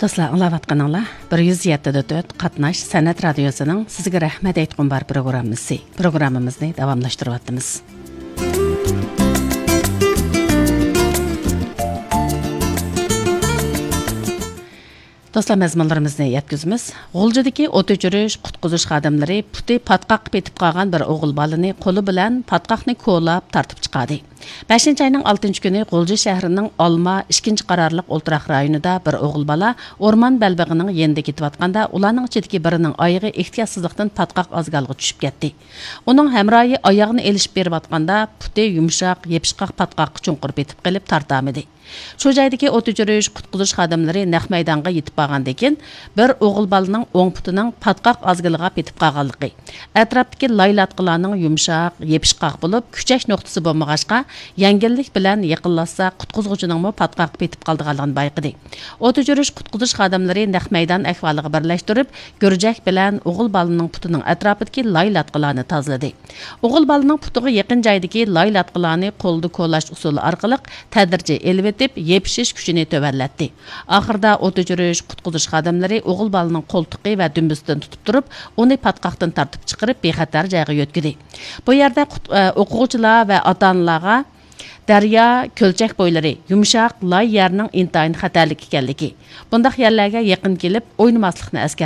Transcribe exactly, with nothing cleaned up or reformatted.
دوستلار، ئاڭلاۋاتقىنىڭلار بىر يۈز يەتتە دۆت قاتناش سەنئەت رادىيوسىنىڭ سىزگە رەھمەت ئېيتقۇم بار پروگراممىسى. پروگراممىمىزنى داۋاملاشتۇرۇۋاتىمىز. دوستلار، مەزمۇنلىرىمىزنى يەتكۈزىمىز. غۇلجىدىكى ئوت ئۆچۈرۈش، قۇتقۇزۇش خادىملىرى پۇتى پاتقاققا پېتىپ قالغان بىر ئوغۇل بالىنى قولى بىلەن پاتقاقنى كولاپ تارتىپ چىقاردى. بەشىنچى ئاينىڭ ئالتىنچى كۈنى غۇلجا شەھىرىنىڭ ئالما ئىككىنچى قارارلىق ئولتۇراق رايونىدا بىر ئوغۇل بالا ئورمان بەلبېغىنىڭ يېنىدا كېتىۋاتقاندا، ئۇلارنىڭ ئىچىدىكى بىرىنىڭ ئايىغى ئېھتىياتسىزلىقتىن پاتقاق ئازگالغا چۈشۈپ كەتتى. ئۇنىڭ ھەمراھى ئاياغنى ئېلىشىپ بېرىۋاتقاندا، پۇتى يۇمشاق، يېپىشقاق پاتقاققا چوڭقۇر پېتىپ قېلىپ تارتالمىدى. شۇ جايدىكى ئوت ئۆچۈرۈش، قۇتقۇزۇش خادىملىرى نەق مەيدانغا يېتىپ بارغاندىن كېيىن، بىر ئوغۇل بالىنىڭ ئوڭ پۇتىنىڭ پاتقاق ئازگىلىغا پېتىپ قالغانلىقى، ئەتراپتىكى لاي لاتقىلارنىڭ يۇمشاق، يېپىشقاق بولۇپ، كۈچەش نۇقتىسى بولمىغاچقا، يەڭگىللىك بىلەن يېقىنلاشسا، قۇتقۇزغۇچىنىڭمۇ پاتقاققا پېتىپ قالىدىغانلىقىنى بايقىدى. ئوت ئۆچۈرۈش، قۇتقۇزۇش خادىملىرى نەق مەيدان ئەھۋالىغا بىرلەشتۈرۈپ، گۈرجەك بىلەن ئوغۇل بالىنىڭ پۇتىنىڭ ئەتراپىدىكى لاي لاتقىلارنى تازىلىدى. ئوغۇل بالىنىڭ پۇتىغا يېقىن جايدىكى لاي لاتقىلارنى قولدا كولاش ئۇسۇلى ئارقىلىق تەدرىجىي ئېلىۋېتىپ، يېپىشىش كۈچىنى تۆۋەنلەتتى. ئاخىرىدا ئوت ئۆچۈرۈش، قۇتقۇزۇش خادىملىرى ئوغۇل بالىنىڭ قولتۇقى ۋە دۈمبىسىدىن تۇتۇپ تۇرۇپ، ئۇنى پاتقاقتىن تارتىپ چىقىرىپ، بىخەتەر جايغا يۆتكىدى. بۇ يەردە قۇت-، ئە، ئوقۇغۇچىلار ۋە ئاتا-ئانىلارغا دەريا، كۆلچەك بويلىرى، يۇمشاق، لاي يەرنىڭ ئىنتايىن خەتەرلىك ئىكەنلىكى، بۇنداق يەرلەرگە يېقىن كېلىپ ئوينىماسلىقنى ئەسكەرتتى.